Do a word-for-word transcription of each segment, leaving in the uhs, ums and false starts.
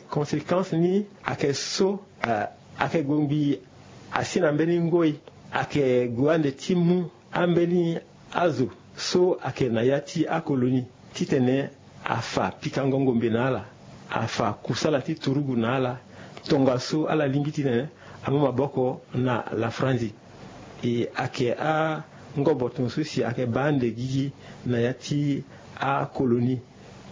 Conséquence ni ayeke so, ayeke gongbi asi na mbeni ngoi, ayeke gue ande ti mu ambeni azo so ayeke na ya ti akolonie titene afa pikango ngombe na ala, afa kusala ti turugu na ala, tongaso ala lingbi titene amu maboko na lafranzi. E ayeke angoboto so si ayeke baa ande gigi na ya ti akolonie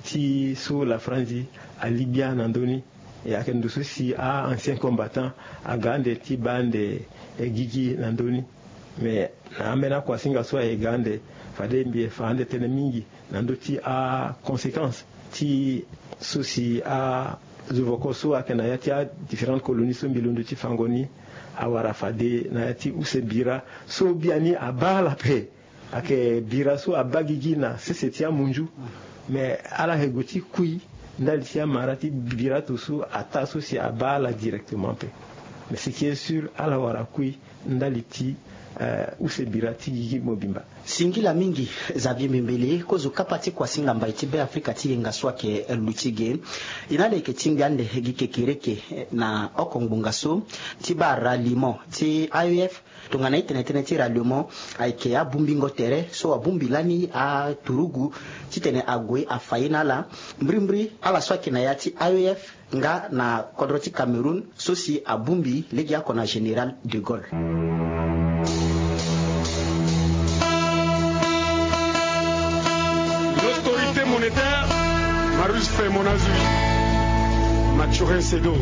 ti so lafranzi ali gbia na ndö ni. E ayeke ndo so si a-ancien combattant aga ande ti baa ande gigi na ndö ni. Mais na ambeni akuasinga so aye ga ande, fade mbi ye fa ande tënë mingi na ndö ti aconséquence ti so si azovoko so ayeke na ya ti adifférentes colonies so mbi londo ti fango ni awara fade na ya ti use bira so biani abaa ala ape. Ayeke bira so abaa gigi na sese ti amunzu. Mais ala yeke gue ti kui ndali ti amara ti bira to so ataa so si abaa ala directement ape. Mais ce qui est sûr, ala wara kui ndali ti use bira ti gigi mobimba. Singila mingi. Xavier Mbembele, kozo kapa ti kuasinga mbai ti Beafrika ti yenga so ayeke luti ge. E na ala yeke tingbi ande gi kekereke na oko ngbonga so ti baa ralliement ti A E F. Tongana itene tënë ti ralliement ayeke abungbingo tere so abungbi lani aturugu titene ague afa ye na ala. Mbirimbiri ala so ayeke na ya ti A E F nga na kodro ti Cameroun so si abungbi lege oko na général de Gaulle. L'autorité monétaire, Marius Femonazui, Mathurin Sedo.